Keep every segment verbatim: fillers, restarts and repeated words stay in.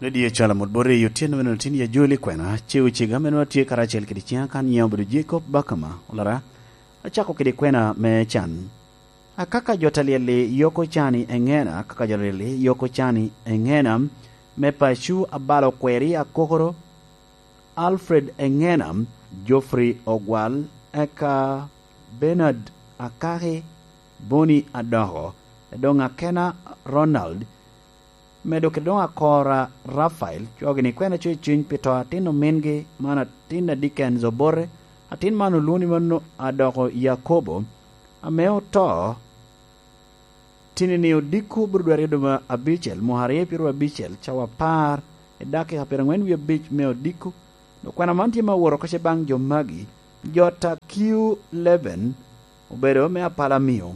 Lydia Calamut Bot Riyo tyen meno tin ya joli kwena, ce ocega meno atye karacel kede ciŋa kan nyiŋa obedo Jacob Bakama, olara, acako kede kwena me can. Akaka jo ta lyel-li yoko cani eŋena, akaka jo ta lyel-li yoko cani eŋena, me paco abalo kweri akokoro, Alfred eŋena, Geoffrey Ogwal, eka Bernard Akaki, Boni Adoko, edoŋ akena Ronald, medo kede doŋ akora Rafael, cogini kwena coc cuny pi to atin omingi, man atin a Dickens Obote, atin man olwoŋo ni mano Adoko Yakobo, ame oto tinini odiko bro dwe aryo dwe me abicel, mwaka aryo pyeraryo abicel, cawa apar, i dakika pyeraŋwen wie abic me odiko. Dok kwena man tye ma oworo oko ce baŋ jo magi, jo ta Q eleven obedo me Apalamio,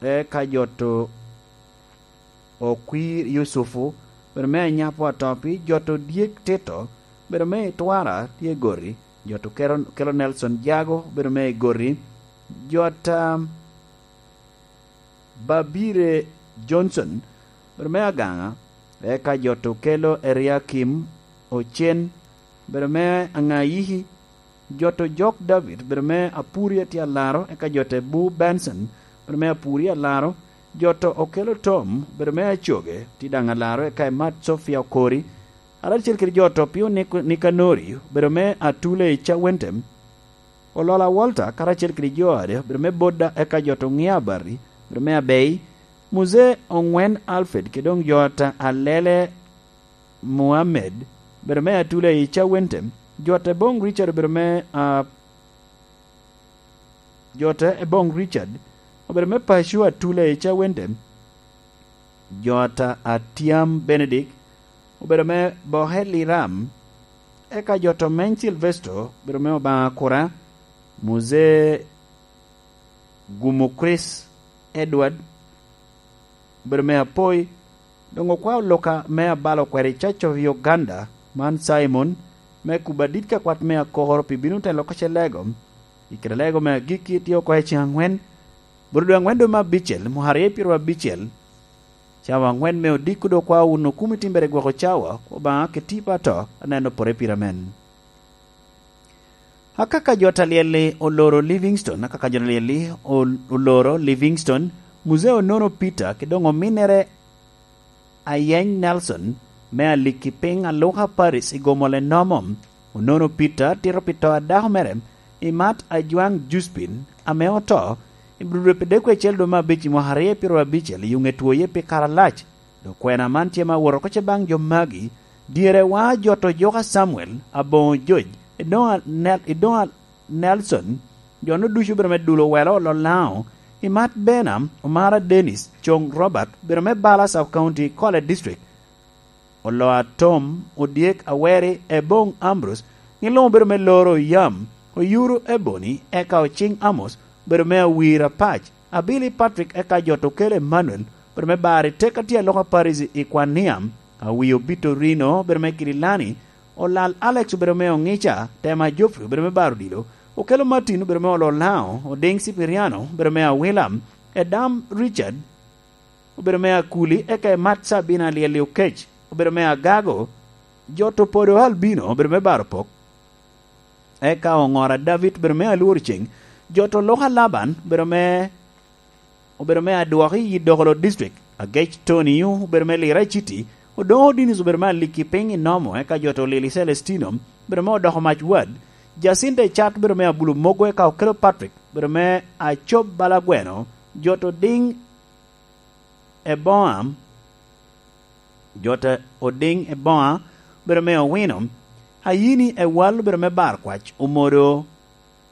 eka jo to Okwir Yucufu, obedo me Anyapo Atopi, jo to Dyek Tito, obedo me Itwara tye Gori, jo to Kero-, Kelo Nelson Jago, obedo me Gori, jo ta Babire Johnson, obedo me Agaŋa, eka jo to Kelo Eriakim Ocen, obedo me Aŋayiki, jo to Jok David, obedo me Apuri atye alaro, eka jo te Bu Benson, obedo me Apuri alaro, jo to Okelo Tom, obedo me Acoge, tye daŋ alaro, eka Emat Sofia Okori, karacel kede jo to Pio Nik-, Nikanori, obedo me Atule i Cawentem, Olola Walter, karacel kede jo ade, obedo me Bodda, eka jo to Ŋia Abati, obedo me Abei, Muzee Oŋwen Alfred, kede doŋ jo ta Alele Muhammed, obedo me Atule i Cawentem, jo ta Eboŋ Richard, obedo me, ah, jo ta Eboŋ Richard, obedo me Paco Atule i Cawentem, jo ta Atyam Benedict, obedo me Bohel Iram, eka jo to Meny Silvesto, obedo me Obaŋa Kura, Muzee Gumo Chris Edward, obedo me Apoi, doŋ okwao Luka me Abalo kwede Church of Uganda, man Simon, me kubo adit ka kwat me akokoro pi bino telo ka ce lego, i kede lego me agikki tye oko i ceŋ aŋwen, bot dwe aŋwen dwe me abicel, mwaka aryo pyeraryo abicel, cawa aŋwen me odiko dok okwao wun okumi timbere gwoko cawa, Obaŋa keti pa to, aneno pore pire amen. Akaka jo ta lyel-li oloro Livingstone, akaka jo ta lyel-li ol-, oloro Livingstone, Muzee Onono Peter, kede doŋ ominnere Ayeny Nelson, me Alikki Piny Aluka Paris i Gomol enomo. Onono Peter tito pi to a dako mere, Imat Ajwaŋ Juspin, ame oto, i Bro dwe pi dek wiye acel dwe me abic i mwaka aryo pyeraryo abicel, i Oŋetwoye pi kare alac. Dok kwena man tye ma wot oko ce baŋ jo magi, dyere wa jo to Joka Samuel, Aboŋo Joj, Idoŋa Nel-, Idoŋa Nelson, jo-nu ducu obedo me Dulo Welo Lolaŋo, Imat Bena, Omara Dennis, Coŋ Robert, obedo me Bala Sub County, Kole District, Oloa Tom, Odyek Aweri, Eboŋ Ambrose, gin luŋ obedo me Loro Yam, Oyuro Ebony, eka Ociŋ Amos, obedo me Awir Apac, Abili Patrick, eka jo to Kelo Emmanuel, obedo me Bari Teka tye Aloka Paris i Kwaniam, Awio Bitorino, obedo me Kirilani, Olal Alex, obedo me Oŋica, Tema Geoffrey, obedo me Baro Odilo, Okelo Martin, obedo me Ololaŋo, Odiŋ Sipiriano, obedo me Awilam, Edam Richard, obedo me Akuli, eka Emat Sabina Alyel-li Okec, obedo me Agago, jo to Podo Albino, obedo me Baro Pok, eka Oŋora David, obedo me Alwor Ceŋ, jo to Loka Laban, obedo me, obedo me Adwoki i Dokolo District, Agec Tony, obedo me Lira City, Odoŋo Dinis, obedo me Alikki Piny i Nomo, eka jo to Lili Celestino, obedo me Odoko Mac Wad, Jacinta Icat, obedo me Abulo Mogo, eka Okelo Patrick, obedo me Acob Balagweno, jo to Diŋ Eboŋa, jo ta Odiŋ Eboŋa, obedo me Owino, Ayini Ewal, obedo me Bar Kwac, Omodo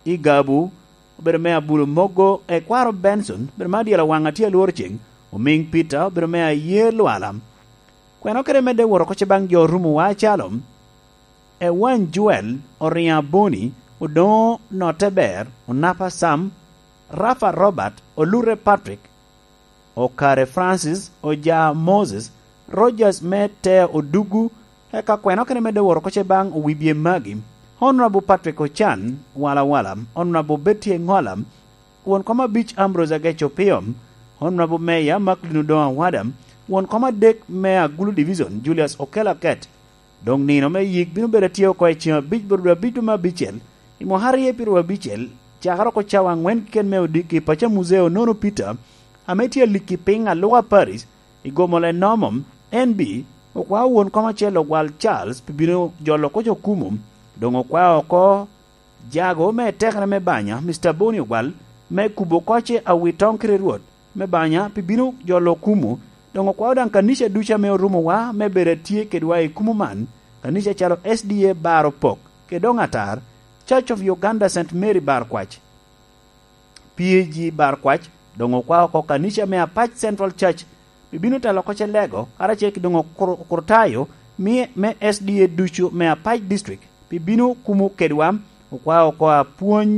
Igabu, obedo me Abulo Mogo, Ekwaro Benson, obedo me Adyela Waŋ Atye Alwor Ceŋ, Omiŋ Peter, obedo me Aye Lwala. Kwena kede medde wot oko ce baŋ jo Orumo wa acalo, Ewany Joel, Oriŋo Aboni, Odoŋo Notte Ber, Onapa Sam, Rafa Robert, Olute Patrick, Okare Francis, Oja Moses, Rogers me Tea Odugu, eka kwena okene medde wot oko ce baŋ Owibye Magi, Honorable Patrick Ocan, Wala Wala, Honorable Betty Eŋola, Won kom abic Ambrose Agec Opio, Honorable Mayor Macklin Odoŋo Awada, Won kom adek me Agulu Division, Julius Okello Aket, doŋ nino me yik bino bedo atye oko i ceŋ abic bot dwe abic dwe me abicel, i mwaka aryo pi rwo abicel, cakere oko cawa aŋwen keken me odiki i paco a Muzeo Nono Peter, ame tye alikki piny Aluka Parish, i gomo le nomo, N B, okwao won kom acel Ogwal Charles pi bino jolo koc okumo, doŋ okwao oko jago me tekere me banya, Mister Boni Ogwal, me kubo koc awi toŋ kede Rwot me banya pi bino jolo okumo, doŋ okwao daŋ kanica ducu ame orumowa me bedo atye kedwa i kumo man, kanica calo S D A Bar Opok, kede doŋ Atar, Church of Uganda Saint Mary Bar Kwac, P A G Bar Kwac, doŋ okwao oko kanica me Apac Central Church, pi bino telo koc elego, karacel ki doŋ okur-, okurtayo, mi-, me S D A ducu me Apac District, pi bino kumo kedwa, okwao oko apwony